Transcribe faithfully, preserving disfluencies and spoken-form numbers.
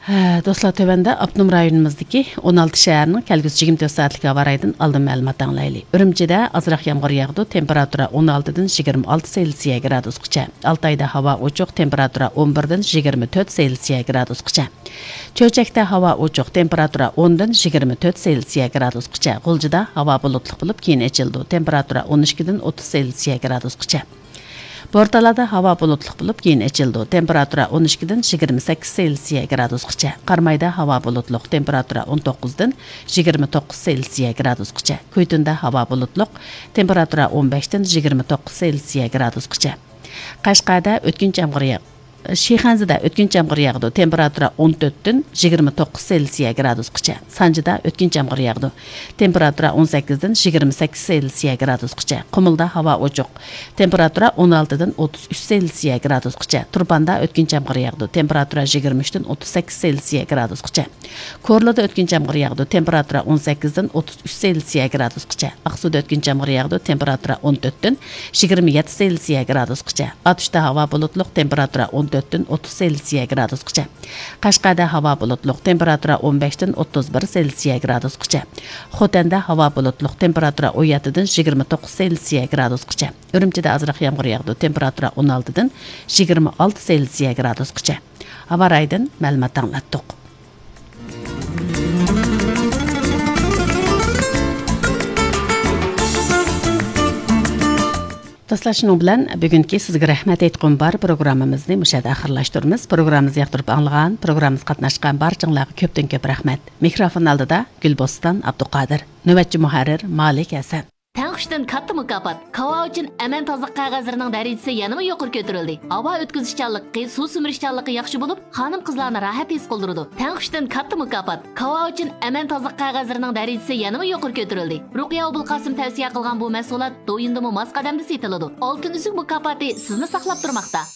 ھە، دوستلار، تۆۋەندە ئاپتونوم رايونىمىزدىكى ئون ئالتە شەھەرنىڭ كەلگۈسى يىگىرمە تۆت سائەتلىك ھاۋا رايىدىن ئالدىن مەلۇمات ئاڭلايلى. ئۈرۈمچىدە ئازراق يامغۇر ياغىدۇ، تېمپېراتۇرا ئون ئالتىدىن يىگىرمە ئالتە سېلسىيە گرادۇسقىچە. ئالتايدا ھاۋا ئوچۇق، تېمپېراتۇرا ئون بىردىن يىگىرمە تۆت سېلسىيە گرادۇسقىچە. چۆچەكتە ھاۋا ئوچۇق، تېمپېراتۇرا ئوندىن يىگىرمە تۆت سېلسىيە گرادۇسقىچە. غۇلجىدا ھاۋا بۇلۇتلۇق بولۇپ، كېيىن ئېچىلىدۇ، تېمپېراتۇرا ئون ئىككىدىن ئوتتۇز سېلسىيە گرادۇسقىچە. بورتالادا ھاۋا بۇلۇتلۇق بولۇپ، كېيىن ئېچىلىدۇ، تېمپېراتۇرا ئون ئىككىدىن يىگىرمە سەككىز سېلسىيە گرادۇسقىچە. قارامايدا ھاۋا بۇلۇتلۇق، تېمپېراتۇرا ئون توققۇزدىن يىگىرمە توققۇز سېلسىيە گرادۇسقىچە. كۈيتۇندا ھاۋا بۇلۇتلۇق، تېمپېراتۇرا ئون بەشتىن يىگىرمە توققۇز سېلسىيە گرادۇسقىچە. قەشقەردە ئۆتكۈنچى يامغۇر ياغ-، شىخەنزىدە ئۆتكۈنچى يامغۇر ياغىدۇ، تېمپېراتۇرا ئون تۆتتىن يىگىرمە توققۇز سېلسىيە گرادۇسقىچە. سانجىدا ئۆتكۈنچى يامغۇر ياغىدۇ، تېمپېراتۇرا ئون سەككىزدىن يىگىرمە سەككىز سېلسىيە گرادۇسقىچە. قۇمۇلدا ھاۋا ئوچۇق، تېمپېراتۇرا ئون ئالتىدىن ئوتتۇز ئۈچ سېلسىيە گرادۇسقىچە. تۇرپاندا ئۆتكۈنچى يامغۇر ياغىدۇ، تېمپېراتۇرا يىگىرمە ئۈچتىن ئوتتۇز سەككىز سېلسىيە گرادۇسقىچە. كورلىدا ئۆتكۈنچى يامغۇر ياغىدۇ، تېمپېراتۇرا ئون سەككىزدىن ئوتتۇز ئۈچ سېلسىيە گرادۇسقىچە. ئاقسۇدا ئۆتكۈنچى يامغۇر ياغىدۇ، تېمپېراتۇرا ئون تۆتتىن يىگىرمە يەتتە سېلسىيە گرادۇسقىچە. ئاتۇشتا ھاۋا بۇلۇتلۇق، تېمپېراتۇرا ئون تۆتتىن ئوتتۇز سېلسىيە گرادۇسقىچە. قەشقەردە ھاۋا بۇلۇتلۇق، تېمپېراتۇرا ئون بەشتىن ئوتتۇز بىر سېلسىيە گرادۇسقىچە. خوتەندە ھاۋا بۇلۇتلۇق، تېمپېراتۇرا ئون يەتتىدىن يىگىرمە توققۇز سېلسىيە گرادۇسقىچە. ئۈرۈمچىدە ئازراق يامغۇر ياغىدۇ، تېمپېراتۇرا ئون ئالتىدىن يىگىرمە ئالتە سېلسىيە گرادۇسقىچە. ھاۋا رايىدىن مەلۇمات ئاڭلاتتۇق. دوستلار، شۇنىڭ بىلەن بۈگۈنكى سىزگە رەھمەت ئېيتقۇم بار پروگراممىمىزنى مۇشۇ يەردە ئاخىرلاشتۇرىمىز. پروگراممىمىزنى ياقتۇرۇپ ئاڭلىغان، پروگراممىمىزغا قاتناشقان بارچىڭلارغا كۆپتىن كۆپ رەھمەت. مىكروفون ئالدىدا گۈلبوستان ئابدۇقادىر. نۆۋەتچى مۇھەررىر مالىك ھەسەن. تەڭ كۈچتىن كاتتا مۇكاپات. كاۋا ئۈچۈن ئەمەن تازىلىق قەغەزلىرىنىڭ دەرىجىسى يەنىمۇ يۇقىرى كۆتۈرۈلدى. ھاۋا ئۆتكۈزۈشچانلىقى، سۇ سۈمۈرۈشچانلىقى ياخشى بولۇپ، خانىم-قىزلارنى راھەت ھېس قىلدۇرىدۇ. تەڭ كۈچتىن كاتتا مۇكاپات. كاۋا ئۈچۈن ئەمەن تازىلىق قەغەزلىرىنىڭ دەرىجىسى يەنىمۇ يۇقىرى كۆتۈرۈلدى. رۇقىيە ئوبۇلقاسىم تەۋسىيە قىلغان بۇ مەھسۇلات دويىندىمۇ ماس قەدەمدە سېتىلىدۇ. ئالتۇن ئۈزۈك مۇكاپاتى سىزنى ساقلاپ تۇرماقتا.